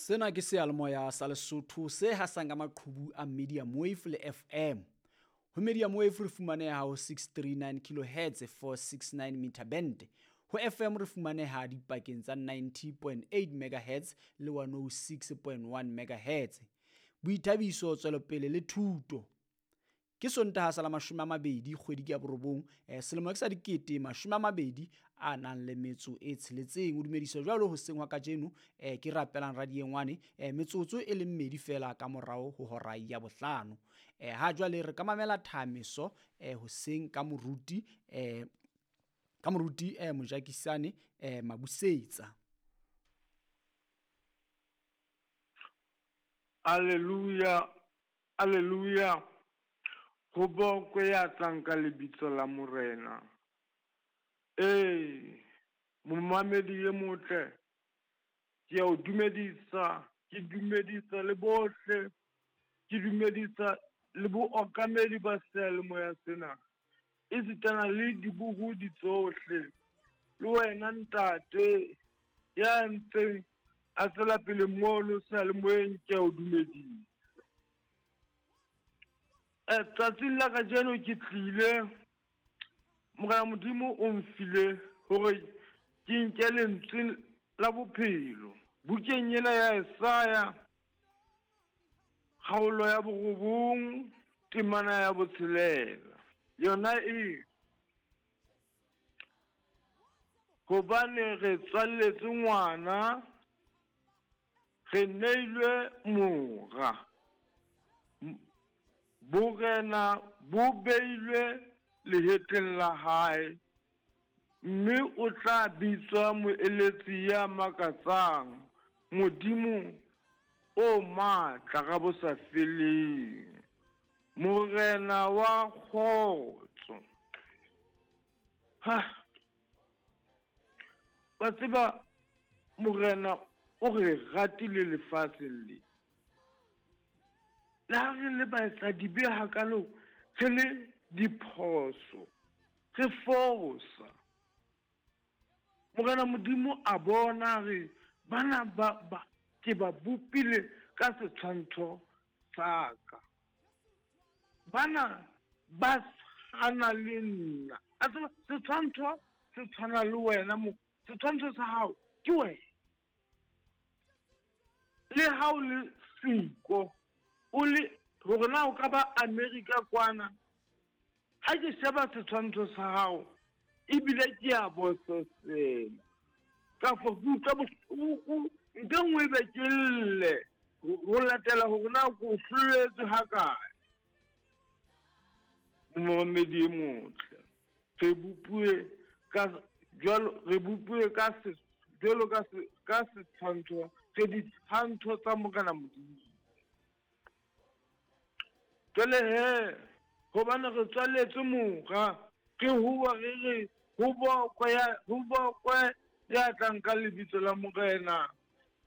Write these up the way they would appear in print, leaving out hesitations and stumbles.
Sena ke seyalemoya sa Lesotho se hasang ka maqhubu a medium wave le FM. Ho medium wave re fumaneha ho 639 kilohertz 469 meter band. Ho FM re fumaneha dipakeng tsa 90.8 megahertz le 106.1 megahertz. Boithabiso, tswelopele le thuto. Ke Sontaha sa la 20 kgwedi ke ya borobong selemo ke sa 2026. O dumediswa jwalo hoseng hwa kajeno ke rapelang radiengwane metsotso e le mmedi fela ka morao ho hora ya bohlano. Ha jwale re ka mamela thameso hoseng ka moruti Mojakisane Mabusetsa. Alleluia, alleluia. Ho bokwe ya tlang ka lebitso la Morena. Ee, momamedi e motle, ke a o dumedisa, ke dumedisa le bohle, ke dumedisa le bookamedi ba seyalemoya sena, esitana le dibohodi tsohle, le wena ntate ya ntseng a tswela pele mono seyalemoyeng, ke a o dumedisa. Tsatsing la kajeno ke tlile, Morena Modimo o mfile hore ke nke lentswe la bophelo. Bukeng ena ya Esaya, kgaolo ya 9, temana ya 6. Yona e hobane re tswalletswe ngwana, re neilwe mora. Borena bo beilwe lehetleng la hae, mme o tla bitswa moeletsi ya makatsang, Modimo o matla ka bo sa feleng, Morena wa kgotso. Ha wa tseba Morena o re ratile lefatsheng le. Le ha re le baetsadibe hakalo, re le diphoso, re fosa. Morena Modimo a bona re bana ba ke ba bopile ka setshwantsho sa ka. Bana ba tshwana le nna. A tseba setshwantsho se tshwana le wena, setshwantsho sa hao ke wena. Le ha o le siko, o le hore na o ka ba America kwana, ha ke sheba setshwantsho sa hao ebile ke a bososela, kapa ke utlwa bohloko, ntho e nngwe e be ke lle ho latela hore na ko hloletswe hakae. Momamedi e motle, re bopuwe ka jwalo, re bopuwe ka se jwalo ka se ka setshwantsho, re ditshwantsho tsa Morena Modimo. Jwale he, hobane re tswaletswe mora, re huwa re re ho bokwe ya tlang ka lebitso la Morena.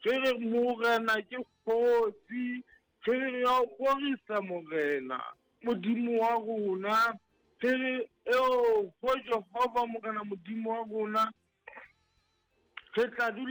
Re re Morena ke kgosi, re re re a o rorisa Morena Modimo wa rona, re re eo ho Jehova Morena Modimo wa rona, re tla dula.